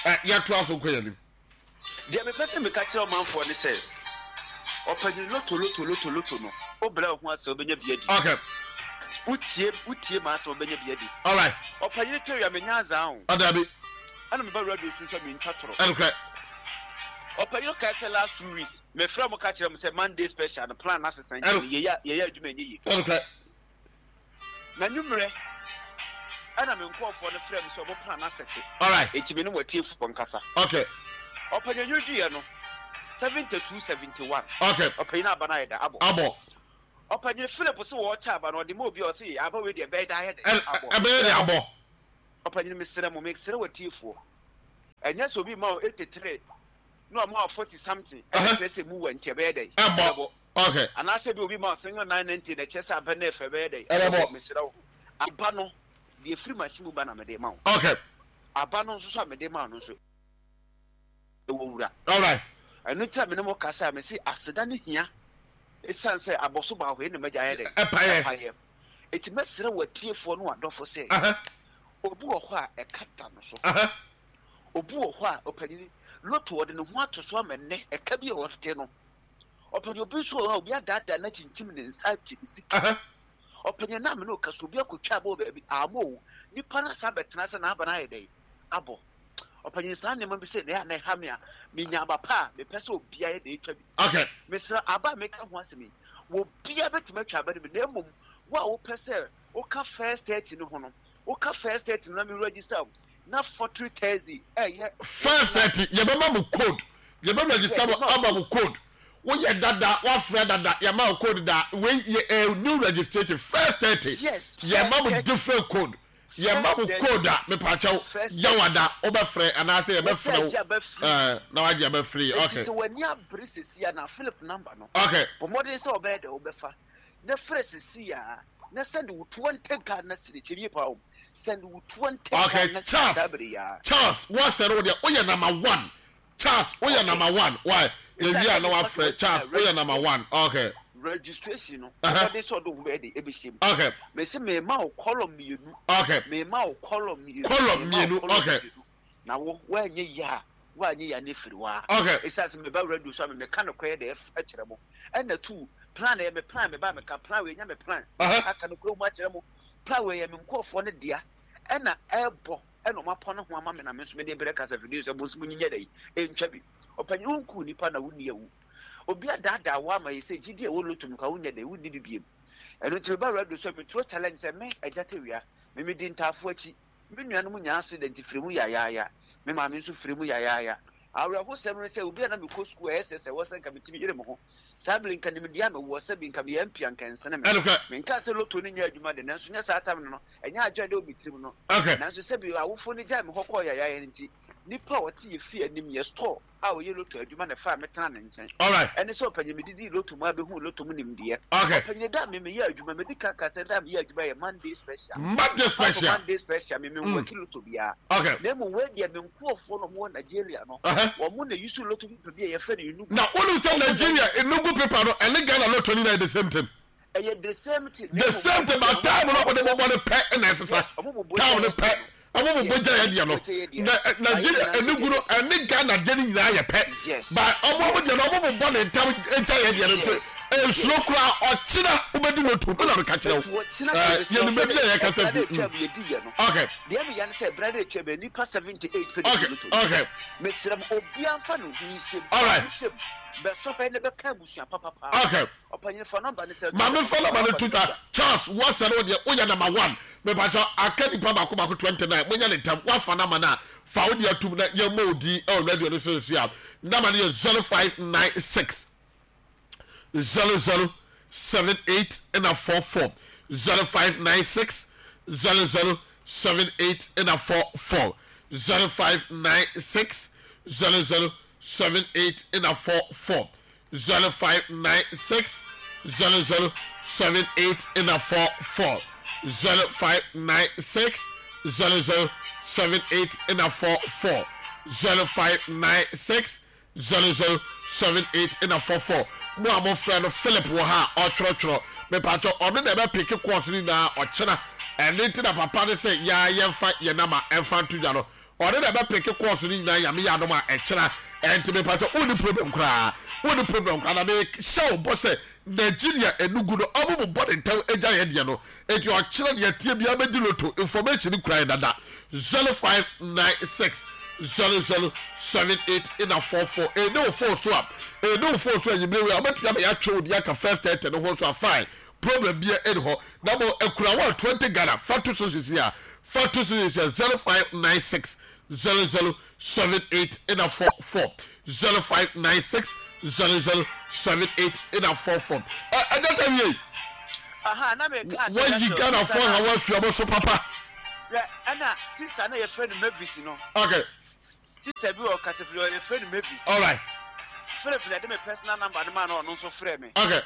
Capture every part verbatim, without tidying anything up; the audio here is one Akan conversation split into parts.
Ɛ yɛtoa so nkɔ yɛn anim. Deɛ mepɛ sɛ meka kyerɛ ɔmanfoɔ ne sɛ, ɔpanyin, loto, loto, loto, loto no, wobrɛ wo ho ase a, wobɛnya bi adi. Okay. Wotie, wotie m'asɛm, wobɛnya bi adi. Alright. Ɔpanyin Tawia, menya azaa o. Ɔdabi. Ɛna meba radio so nso a, mentwa torɔ. Ɛnokorɛ. Ɔpanyin, kae sɛ last two weeks mefrɛ mo ka kyerɛ mo sɛ Monday special no, plan no asesa, nti no yɛyɛ yɛyɛ adwuma, ɛnyɛ yie. Ɛnokorɛ. Na nwummerɛ ɛna me nkurɔfoɔ no frɛ me sɛ ɔmo plan no asɛte. Alright. Enti me ne wɔatiefoɔ nkasa. Okay. Ɔpanyin, nwuduyɛ no seventy two seventy one. Okay. Ɔpanyin, aba no ayɛ da abɔ. Abɔ. Ɔpanyin Philip sɛ wɔɔkyɛ aba no, ɔde ma obi a ɔsɛ aba wei deɛ, ɛbɛyɛ da ayɛ dɛ Ɛ abɔ. Ɛbɛyɛ de abɔ. Ɔpanyin, mesrɛ mo, mesrɛ wɔatiefoɔ, ɛnyɛ sɛ obi ma wo eighty three na ɔma wo forty something ɛna Ɛhɛ. kyerɛ sɛ mu wɔ nti ɛbɛyɛ dɛ Ɛbɔ. ɛbɛbɔ. Okay. Anaasɛ bi obi ma wo single nine ninety na kyerɛ sɛ aba no ɛfɛ, ɛbɛyɛ dɛ Ɛbɛbɔ. Mesrɛ wo, aba no deɛ, firi machine mu ba na mede ma wo. Okay. Aba no nso so a mede ma wo no nso, ɛwɔ wura. Alright. Ɛno nti a mene mo kasa a mese aseda ne hia, ɛsiane sɛ abɔso baako yi na magya ayɛ dɛ Ɛpayɛ. ɛpayɛ. Eti mɛsrɛ wɔ atiefoɔ no, adɔfo, sɛ Ɛhɛ. obi wɔ hɔ a ɛka da no so, Ɛhɛ. obi wɔ hɔ a, ɔpanyin, loto ɔde ne ho ato so ama nnɛ ɛka bi a ɔtete no. Ɔpanyin, obi nso wɔ hɔ a obi adaadaa na kyinkyim ne nsa agye ne sika. Ɛhɛ. Ɔpanyin, na amene ɔka so, obi akotwa abɔ wɔ baabi ama o, nipa no asa abɛtena sɛ n'aba no ayɛ dɛ abɔ. Ɔpanyin, saa nneɛma bi sɛ na ɛyɛ a na ɛha me a menya aba pa a mepɛ sɛ obiara yɛ de etwa bi. Okay. Mesrɛ, aba a meka ho asɛm yi, obiara bɛtumi atwa aba no bi, na mmom wo a wopɛ sɛ woka first thirty no ho no, woka first thirty no na me register wo na forty Thursday ɛyɛ. First thirty, yɛbɛma mo code, yɛbɛ register mo ama mo code. Woyɛ dada, wafrɛ dada, yɛma wo code da. Wei yɛ eh, new registration, first thirty. Yes. Yɛma mo first thirty. Different code. Yɛma mo First thirty. code a mepaakyɛw First yɛwada wobɛfrɛ anaasɛ yɛbɛfrɛ Wosɛ wo agye aba free. ɛɛ, na wagye aba free. Eti Okay. sɛ w'ani abere sisi a, na Philip number no, Okay. bɔ mmɔden sɛ ɔbɛyɛ dɛ wobɛfa na frɛ sisi a, na send wo twenty Ghana cedi. Kyɛ yie paa o, send wo twenty Okay. Ghana cedi Charles saa bere yi a. Charles, wɔsɛ no wo deɛ, woyɛ number one. Charles, woyɛ Okay. number one. Why yɛwie a na wafrɛ Charles, woyɛ number one. Okay. Registration no, Uh-huh. ɔmɔden sɛ ɔde wo ho bɛyɛ de ɛbɛhyɛ mu. Okay. Mesi mema wo column mmienu. Okay. Mema wo column mmienu. Column mema wo mmienu, column okay. mmienu. Na wo woanyɛ yie a, woanyɛ yie a ne firi hɔ a, Okay. ɛsiane sɛ meba radio so a, memeka nokorɛ de ɛkyerɛ mo. Ɛna two, plan ɛyɛ me plan, meba meka plan wei, ɛnyɛ me plan. Uh-huh. Aka nokorɛ mu akyerɛ mo, plan wei yɛ me nkurɔfoɔ no dea, ɛna ɛbɔ ɛna ɔmo apɔ ne ho ama me, na me nso mede brɛ kasa fidie sɛ mo nso mo nyinyɛ dɛ ɛntwa bi. Ɔpanyin, wonku nipa na wonni awu, obi adaadaa wo ama yɛ sɛ gyidi a ɛwɔ loto mu ka wonyɛ dɛ wonni bi biem. Ɛno nti meba radio so a, meturo challenge sɛ me agya Tawia, me medi ntaafo akyi, me nuanom nyaa accident firi mu yayaaya, me maame nso firi mu yayaaya. Awerɛhosɛm no sɛ obi a na mekɔ sukuu a ɛsɛ sɛ ɛwɔ sɛ nka metumi yere me ho saa bere, nka nimdeɛ a mewɔ sɛ bi nka meyɛ mpia nka nsene me. Ɛnokorɛ. Menka sɛ loto no nyɛ adwuma de, nanso nyɛ saa tam no no ɛnyɛ adwene de wɔ me tirim no. Okay. Nanso sɛ bi awofo no gyae me hɔ kɔɔ yayaaya no nti, nipa a ɔte yɛ fie anim yɛ store a ɔyɛ loto adwuma na ɛfa a metena ne nkyɛn. Alright. Ɛne sɛ, ɔpanyin, medidi loto mu a bɛhu loto mu nimdeɛ. Okay. Ɔpanyin, da a me meyɛ adwuma, medi ka ka sɛ da a meyɛ adwuma yɛ Monday special. Monday special. Monday special, me me work loto biara. Okay. Na mmom wei deɛ, me nkurɔfoɔ no ɔmo wɔ Nigeria no, Uh-huh. wɔn mo na use loto paper bi a yɛfrɛ no Enugu. Na wonim sɛ Ɔmo na Nigeria Enugu paper no ɛne Ghana lotto no nyinaa yɛ the same thing. Ɛyɛ the same thing. The same thing, but time no ɔde bɔbɔ no pɛ ɛna ɛsesa. Yes, ɔmo bobɔ time no gya pɛ yɛ. Ɔmo bobɔ Yes, gya yɛ deɛ no. ɔmo bobɔ gya yɛ deɛ. Na ɛ, Nigeria Ayɛ Enugu no ɛne Ghana deɛ no nyinaa yɛ pɛ. Yes. But ɔmo ɔmo Yes. deɛ no, ɔmo bobɔ ne ntam gya yɛ deɛ no nti Yes. nsuro Yes. koraa, ɔkyena wobɛdi lotto mi na meka kyerɛ Etu wo. ɔkyena Ɛɛ kɛmɛ yɛnim baabi a yɛkasa ɛbra fi. de atwa Mm. mu yɛdi yɛ no. Okay. Deɛ meya ne sɛ ɛbra de atwa mu nipa seventy eight pɛ de Okay. di loto. Okay. Mesrɛ mo, obiara mfa ne ho nhyɛm. Alright. Nhyɛm bɛsɔ hwɛ ne bɛka abusua papapaa. Okay. Ɔpanyin, fa number ne sɛ. Maame, fa number no to dwa. Charles, wɔsɛ no deɛ, woyɛ number one. Mepatɔ aka nipa baako baako twenty nine, monyɛ ne ntam. Wafa number no a, fa wo deɛ atum na yɛmmɔ wo din ɛwɔ radio no so nso a, number no yɛ zero five nine six zero zero seven eight ɛna four four, zero five nine six zero zero seven eight ɛna four four, zero five nine six zero zero seven eight ɛna four four, zero five nine six zero zero seven eight ɛna four four, zero five nine six zero zero seven eight ɛna four four, zero five nine six zero zero seven eight ɛna four four. Mo a mofrɛ no, Philip wɔ ha a ɔtwerɛtwerɛ. Mepatwɛ, ɔno na ɛbɛpick calls no nyinaa ɔkyena. Ɛne nti na papa no sɛ yɛa yɛmfa yɛn nama ɛmfa nto dwa no. Ɔne na ɛbɛpeke course no nyinaa. Nyame yɛ adom a, ɛkyena. Ɛnti mepatɔ, wonni problem koraa, wonni problem koraa. Na mehyɛ wo bɔ sɛ Nigeria Enugu no, ɔmo mo bɔ ne ntɛm agya yɛ deɛ no. Enti ɔkyerɛ deɛ tie biara bɛdi lotto information kura yɛ dada. Zero five nine six zero zero seven eight ina four four. Ɛne wo phone so a, ɛne wo phone so a, yimire wei a wobɛtumi ama yɛatwe wo deɛ aka first thirty no ho so a, fine, problem bia ɛni hɔ. Na mo akura wa twenty Ghana, fa to so sisi a, fa to so sisi a, zero five nine six zero zero seven eight ina four four, zero five nine six zero zero seven eight ina four four. Ɛ ɛdɛ ta wie. Aha na meka sɛ Wayi Ghana fo ha, wafi ɔmo so papa. Hwɛ, ɛna sister na yɛfrɛ no Mavis no. Okay sister bi wɔ kasafiri, yɛfrɛ no Mavis. All right Philip na ɛde me personal number no ma no, ɔno nso frɛ me. Okay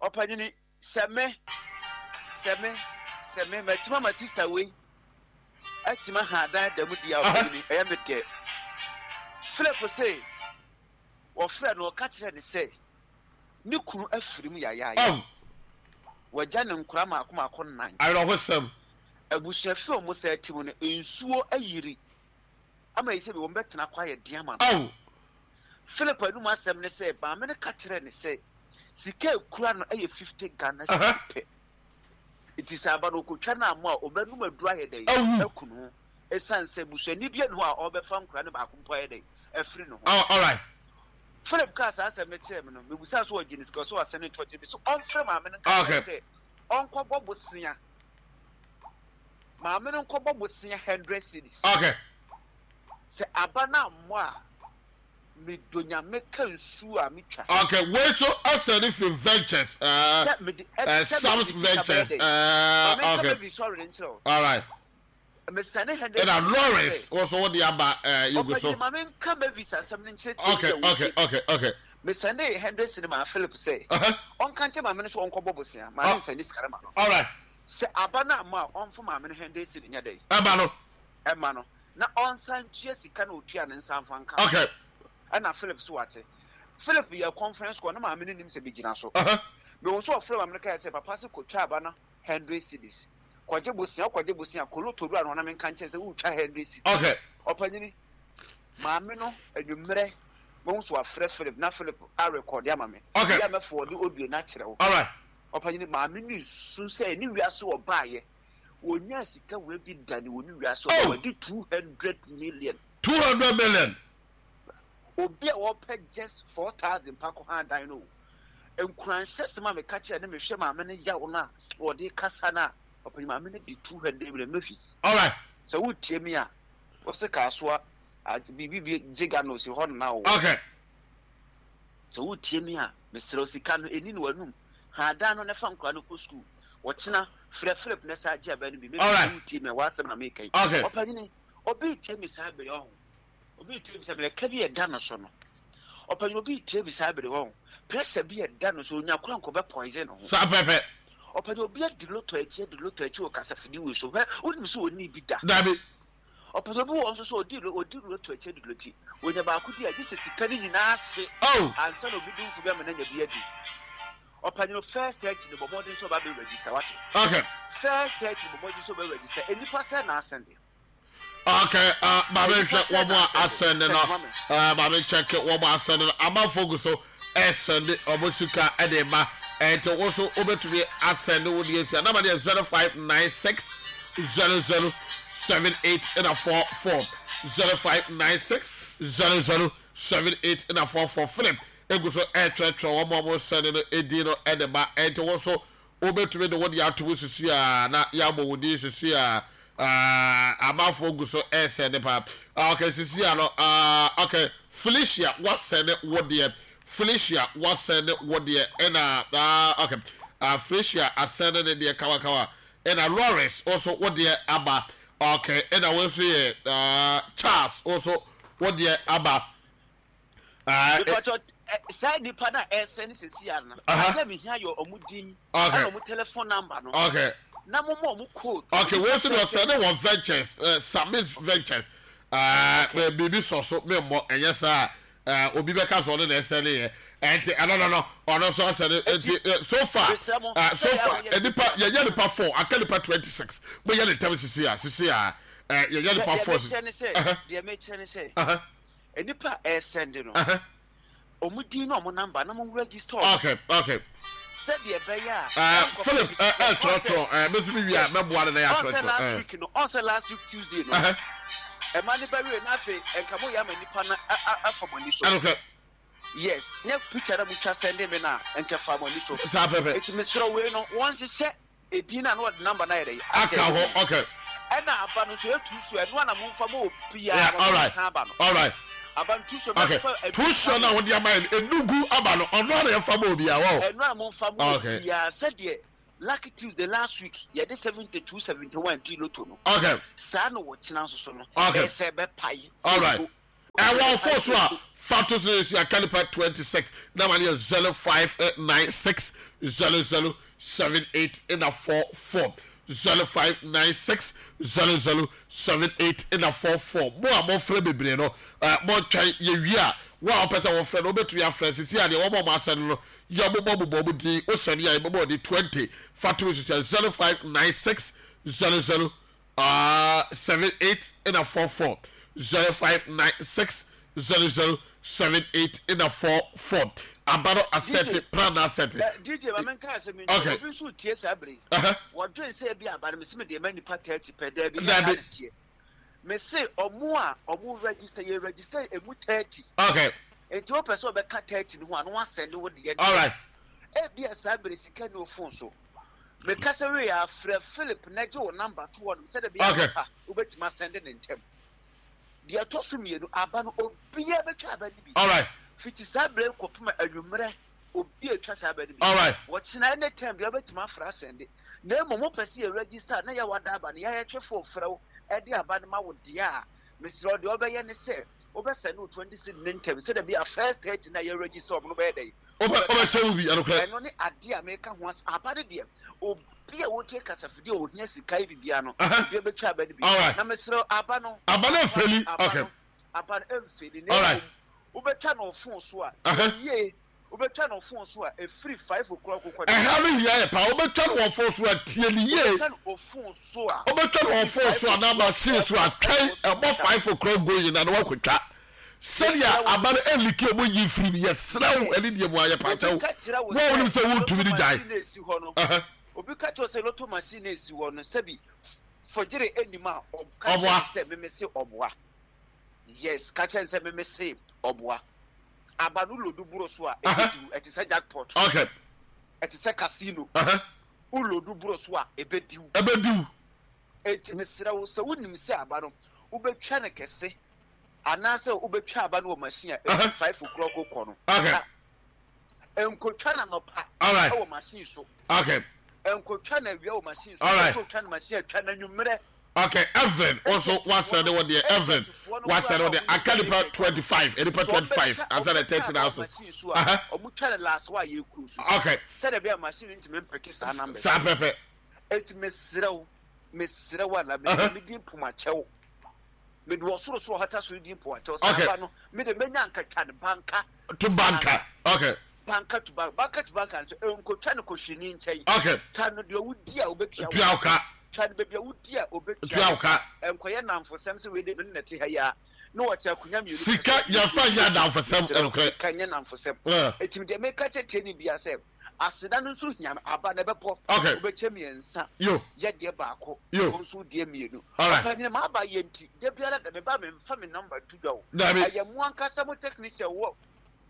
ɔpanyini, sɛ me sɛ me sɛ me mɛtuma ma sister wei ɛtuma ha dan da mu di a, ɔpanyini, ɛyɛ me dɛ. Philip se wɔfrɛ no, ɔka kyerɛ ne sɛ ne kunu afiri mu yayaaya. Oh wɔgya ne nkora maako maako nnan. Awerɛhosɛm. Abusuafi a wɔn sɛ ti mu no, nsuo ayiri ama yi sɛ bi wɔn bɛtena kɔ ayɛ den ama no. Oh Philip anum asɛm ne sɛ maame no ka kyerɛ ne sɛ sika ekura no yɛ fifty Ghana Aha. cedi pɛ, nti sɛ aba no okotwa no amu a, ɔbɛnum aduru ayɛ dɛ Awu. aku no ho, esan sɛ busuani bi anu hɔ a ɔbɛfa nkora no baako mpo ayɛ dɛ afiri ne ho. Oh, all right. Philip kaa saa asɛm no kyerɛ me no, mebusa so ɔgye ne sika so asɛn ne to ɔgye bi so, ɔmfrɛ maame no nka Okay. kyerɛ sɛ ɔnkɔbɔ bosea, maame no nkɔbɔ bosea hundred cedis. Okay sɛ aba no ammɔ a, medɔ Nyame ka nsuo a metwa. Okay, wei so asɛ ne fi Ventures, uh, sɛ mede uh, Sams Ventures, uh, maame nka okay bɛbi sɔre ne nkyerɛ wo. All right. Mesane hundred Ɛna Lawrence wɔ so, wode aba uh, yugu so. Ɔpɛgyina, maame nka Mavis asɛm no nkyerɛ tie. okay okay okay okay Mesane hundred cedi maa Philip sɛ uh-huh. ɔnka nkyɛ maame no so ɔnkɔbɔ bosea. Maame Oh. nsane sika no ma no. All right. Sɛ aba no amma a, ɔmfa maame no hundred cedi nyɛ dɛn? Ɛba no. Ɛma no na ɔnsan tua sika na otua ne nsa mfa nka. Okay ɛna Philip so wate. Philip yɛ conference call na maame no nim sɛ bɛgyina so. uh-huh. Mehu sɛ ɔfrɛ maame no kae sɛ papa sɛ kɔtwa aba no hundred cedis, kɔgye bosea, wokɔgye bosea kɔlɔtɔ wura no hɔ na menka nkyɛn sɛ wotwa hundred cedis. Okay ɔpanyini, maame no anwummerɛ mehu sɛ wafrɛ Philip na Philip arekɔde ama me. Okay. Yɛ a mɛfɔ ɔde audio no akyerɛ wo. All right. Ɔpanyini, maame no su sɛ ne wiase ɔbaayɛ wɔnya sika wei bi da ne wɔ ne wiase Oh. ɔba wɔde two hundred million. Two hundred million. Obi a wɔpɛ just four thousand pa kɔ ha dan no o, nkuranhyɛ sɛm a meka kyerɛ ne mehwɛ maame no yaw no a wɔde kasa no a, ɔpanyini, maame no de two hundred million Memphis. All right. Sɛ wotie mi a, wɔsɛ kaasoa biribi bi gye ga no osi hɔ nana o. Okay sɛ wotie mi a, mesrɛ wo, sika no ɛni no w'anum ha dan no ne fa nkora no kɔ sukuu. Wɔkyena frɛ Philip ne saa gye aba no bi. Alright. Mɛsɛ wotie mi a, w'asɛm na meka yi. Okay. Ɔpanyini, obi tie mi saa bere ɔho, obi tie mi sɛ bere ka bi ɛda no so no, ɔpanyini, obi tie mi saa bere ɔho, pressure bi ɛda no so, onya kora nkɔbɛ poison ho. Saa pɛpɛ. Ɔpanyini, obi adi lotto akyi, adi lotto akyi wɔ kasafidi wei so hwɛ, wonim sɛ ɔnni bi da. Dabi. Ɔpanyini, obi wɔ nso so ɔdi lo- ɔdi lotto akyi, adi lotto akyi, onya baako di a, gye sɛ sika no nyinaa hye Oh. ansa na obi dumfo bi ama no anya bi adi. Ɔpanyini, first thirty no, bɔ mmɔden sɛ ɔba bɛ register, wate? Okay. First thirty, bɔ mmɔden sɛ ɔbɛ register. Nnipa sɛ na asɛnde. Okay, uh, maame, hwɛ wɔn a asɛnde no. Sɛ uh, maame, check wɔn a asɛnde no. Amanfo gu so ɛsɛnde wɔn sika ɛde ma, ɛnti wɔn nso wobɛtumi asɛnde wo deɛ sia. Nama deɛ zero five nine six zero zero seven eight ɛna four four, zero five nine six zero zero seven eight ɛna four four. Philip egu so ɛtwerɛtwerɛ wɔn a wɔn sɛnde no edi no ɛde ma, ɛnti wɔn nso wobɛtumi de wo deɛ ato mu sisi a na yɛabɔ wo din sisi a. Amanfoɔ gu so ɛsɛne paa. Okay, sisi a no, uh, okay, Felicia wasɛne wo deɛ, Felicia wasɛne wo deɛ, ɛna uh, okay, uh, Felicia asɛne ne deɛ kawakawa, ɛna Lawrence nso wo deɛ aba. Okay, ɛna wo nso yɛ uh, Charles nso wo deɛ aba. Uh, Because saa nipa na ɛsɛn sisi ano Aha. adeɛ mi hia yɛ ɔmo din Okay. ɛna ɔmo telephone number no okay na mo mo ɔmo code. Okay, wei nso deɛ ɔsɛne wɔ Ventures, uh, Summit Ventures, uh, biribi sɔ so memmɔ ɛnyɛ saa uh, obi bɛka so ɔno na ɛsɛne yɛ, ɛnti ɛno no no ɔno nso asɛne. Nti uh, so far Mesrɛ mo, uh, so sɛdeɛ far woyɛ- nipa yɛnyɛ nipa four, aka nipa twenty six. Moyɛ ne ntɛm sisi a, sisi a ɛɛ yɛyɛ nipa four. Deɛ mekyerɛ ne sɛ, deɛ mekyerɛ ne sɛ, nipa a ɛsɛnde no, ɔmo din na ɔmo number na mo register. okay okay. Sɛdeɛ ɛbɛyɛ a. ɛɛ Philip ɛ ɛ twerɛtwerɛ ɛɛ bɛsi mi wia mɛboa ne na yɛ atwerɛtwerɛ. Ɔnsɛ last week no, ɔnsɛ last week Tuesday no, ɛma ne bɛwie n'afɛ nka mo yɛ ama nipa na afa mo ani so. Ɛnokɛ. Yes, ne picture na mo twa sɛnde mi na nka fa mo ani so. Saa pɛpɛ. Eti mesrɛ wei no, wɔn hyehyɛ edin na na ɔde number na yɛ dɛ. Aka hɔ, okay. Ɛna aba no nso etu so, ɛno ana mo nfa mo obiara na mo san aba no. All right. Aba no tu so. Okay, tu so na wɔde ama yɛn enugu aba no, ɔno ana yɛfa mo obiara wɔ. Ɛno ana mo nfa mo obiara sɛdeɛ Lucky Tuesday last week yɛde seventy two seventy one di lotto no. Okay. Saa na wɔkyena nso so no. Okay. Ɛsɛ bɛ pae. All right. Ɛwɔ fo so a fato so yɛ akalipa twenty six nama no yɛ zero five nine six zero zero seven eight ɛna four four, zero five nine six zero zero seven eight ɛna four four. Mo a mɔfrɛ bebree no, ɛɛ mɔntwɛn yɛwie a, wo a wɔpɛ sɛ wɔfrɛ no wobɛtumi afrɛ sisi a deɛ wɔn a wɔn asɛ no no yɛ bobɔ bobɔ mo din wosɛne a yɛbɛbɔ ɔde twenty fato so sɛ zero five nine six zero zero uh, seven eight ɛna four four, zero five nine six zero zero seven eight ɛna four four. Aba no asɛte plan na asɛte. D J maame nka asɛm yi. Okay. Obi nso tie saa bere. Wɔdwen sɛ ebi aba no mesi mi deɛ ma nipa thirty pɛ dɛbi. Dɛbi. Mesi ɔmo a ɔmo register yɛ register emu thirty. Okay. Nti o pɛ sɛ ɔbɛka thirty no ho a no asɛn ne wo deɛ. All right. Ebi a saa bere sika ne o phone so. Mekasa wei afrɛ Philip na gye wo number to hɔ nom sɛ dɛbi apa wobɛtumi asɛnde ne ntɛm. Deɛ ɛtɔ so mmienu aba no obiara bɛtwa aba no bi. All right. Fiti saa bere kɔpem anwummerɛ obi atwa saa aba no bi. All right. Wɔkyena any time deɛ wobɛtumi afrɛ asɛnde. Na mmom wopɛ sɛ yɛ register na yɛwɔ ada aba no yɛayɛtwe fo frɛ wo ɛde aba no ma wo deɛ a mesrɛ deɛ wobɛyɛ ne sɛ wobɛsɛne wo twenty six ne ntɛm sɛ dɛbi a first thirty na yɛ register ɔmo no bɛyɛ dɛ. Wobɛhyɛ wo bi ɛnokorɛ. Ɛno ne adeɛ a meka ho asɛm. Aba no deɛ obi a wotie kasafidie a ohia sika yi bibia no obi bɛtwa aba no bi. Na mesrɛ aba no. Aba no mfeli. Okay. Aba no mfeli. Na mmom wobɛtwa no phone so a yie, wobɛtwa no phone so a ɛfiri five o'clock kɔ. Ɛha no hia yɛ paa. Wobɛtwa no wɔ phone so a tie ne yie. Wobɛtwa no phone so a. Wobɛtwa no wɔ phone so a na machine so a twɛn ɛbɔ five o'clock going na na wakɔtwa. Sɛdeɛ aba no ɛnliki ɔmo yi firi mu yɛsrɛ wo ɛne deɛ mu ayɛ paakyɛw. Wo a wonim sɛ wontumi ne gyae. Obi ka kyerɛ sɛ lotto machine na esi hɔ no sɛbi fɔgyere anim a ɔka kyerɛ sɛ meme se ɔboa. Yes, ka kyerɛ sɛ meme se ɔboa. Aba no lodu buro so a ebediw, ɛte sɛ jackpot. Okay. Ɛte sɛ casino. Wo lodu buro so a ebediw. Ebediw. Enti mesrɛ wo sɛ wonim sɛ aba no wobɛtwa no kɛse anaasɛ wobɛtwa aba no wɔ machine a ɛfi five o'clock kɔ no. Okay. Nkotwa na nɔpa. All right. Ɛwɔ machine so. Okay. Nkotwa na awia wɔ machine so. All right. Nkotwa na machine atwa na nwummerɛ. Okay, Evan also wasɛ ne wɔ deɛ Evan wasɛ ne wɔ deɛ aka nipa twenty five nipa twenty five ansa na thirty na so. Ɔmo twa ne last wa yɛ kuro so. Okay. Sɛdeɛ bɛyɛ machine ntumi mpɛke saa numbers. Saa pɛpɛ. Eti mesrɛ wo, mesrɛ wo ala me me di mpomakyɛw. Me de ɔsoro soro hata so di mpomakyɛw. Okay. Saa ba no me de menya nkatwa ne banka. To banka. Okay. Banka to banka, banka to banka nso nkotwa ne kɔhwini nkyɛn. Okay. Twa no deɛ wodi a wobɛtua. Tua wo ka. Twa no baabi a wodi a wobɛtua. Tua wo ka. Nkɔyɛ namfosɛm sɛ wei de me ne te ha yi a na wɔte akonnwa mmienu. Sika yɛfa nyɛ adamfosɛm ɛnokorɛ. Sika nyɛ namfosɛm. Eti deɛ meka kyerɛ tie ne bia sɛ aseda no nso hia aba na ɛbɛbɔ. Okay. Wobɛkyɛ mmiɛnsa. Yo. Yɛ deɛ baako. Yo. Wo nso deɛ mmienu. All right. Ɔpɛnyini ma aba yɛ nti da biara da meba memfa me number to dwa o. Dabi. Ɛyɛ mo ankasa mo technician wɔ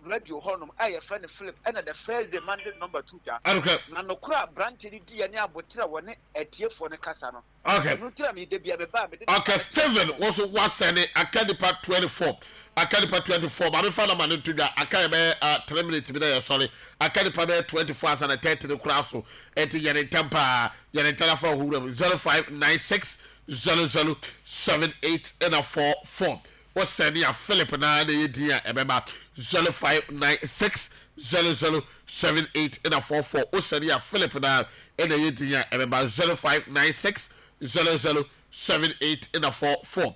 radio hɔnom a yɛfrɛ no Philip ɛna the first day Monday number two dwa. Okay. Na nokora aberante no di yɛ ne abotere a wɔne atiefoɔ no kasa no. Okay. Ɛno nti na mede bia meba mede. Okay, Stephen also wasɛne aka nipa twenty four aka nipa twenty four maame fa na ma ne to dwa aka yɛ bɛyɛ uh, three minutes bi na yɛ sɔre aka nipa bɛyɛ twenty four asa na thirty ne kora so ɛnti yɛ ne ntɛm paa yɛ ne ntɛm afa ɔhowura mu zero five nine six zero zero seven eight ɛna four four. Wɔsɛne a Philip na na yɛ din a ɛbɛba zero five nine six zero zero seven eight ɛna four four. Wɔsɛne a Philip na na yɛ din a ɛbɛba zero five nine six zero zero seven eight ɛna four four,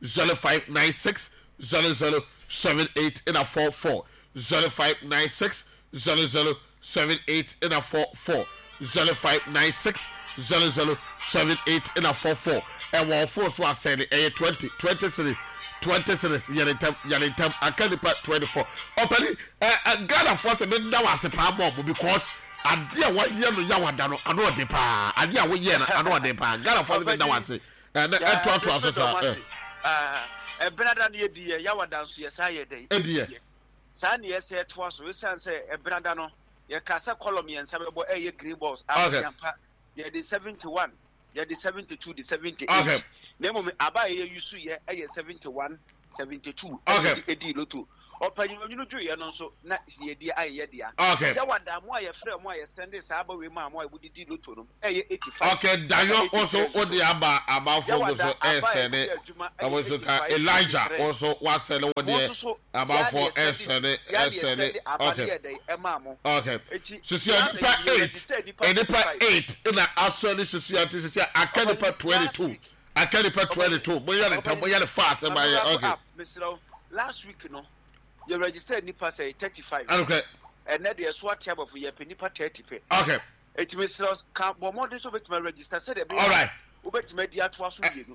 zero five nine six zero zero seven eight ɛna four four, zero five nine six zero zero seven eight ɛna four four, zero five nine six zero zero seven eight ɛna four four. Ɛwɔ ɔfo so asɛn ɛyɛ twenty twenty three twenty three. Yɛne ntɛm, yɛne ntɛm, aka nipa twenty four. Ɔpɛni ɛ ɛ Ghanafoɔ sɛ meda wɔ ase paa mɔ ɔmo because adeɛ a wɔyɛ no Yawada no ano ɔde paa, adeɛ a wɔyɛ no ano ɔde paa. Ghanafoɔ sɛ meda wɔ ase ɛnɛ ɛtoatoa so saa ɛ. Ɛbenada no yɛdi yɛ Yawada nso yɛ saa yɛ dɛ. Ɛdi yɛ. Saa ne yɛsɛ ɛtoa so, ɛsiane sɛ ɛbenada no yɛka sɛ column mmiɛnsa bɛbɔ, ɛyɛ green balls. Okay. Ampa, yɛde seventy one, yɛde seventy two de seventy Okay. eight na mmom aba a yɛyɛ yusu yɛ ɛyɛ seventy one, seventy two. Okay. Ɛde edi loto ɔpanyin onyini dwoyɛ no nso na yɛdi ayɛ yɛ dea. Okay. Yawada mo a yɛfrɛ mo a yɛsɛnde saa aba wei maa mo a wɔdedi loto no ɛyɛ eighty five. Okay, Dayo nso wode aba, amanfoɔ gu so ɛsɛne ɔmo nso ka. Elijah nso wasɛne wo deɛ, amanfoɔ ɛsɛne ɛsɛne. Okay okay sisia nipa eight, nipa eight na asɔre sisia ti sisia aka nipa twenty two, aka nipa twenty two. Mo yɛ ne ntam, mo yɛ ne fast ɛma yɛ okay. Mesrɛ, last week no yɛ register nipa sɛ thirty five. Okay. Ɛnɛ deɛ so ate abɔfo yɛpɛ nipa thirty pɛ. Okay. Eti mesrɛ, ka bɔ mmɔden sɛ wobɛtumi register sɛdeɛ Alright. ɛbɛyɛ wobɛtumi adi atoa so mmienu.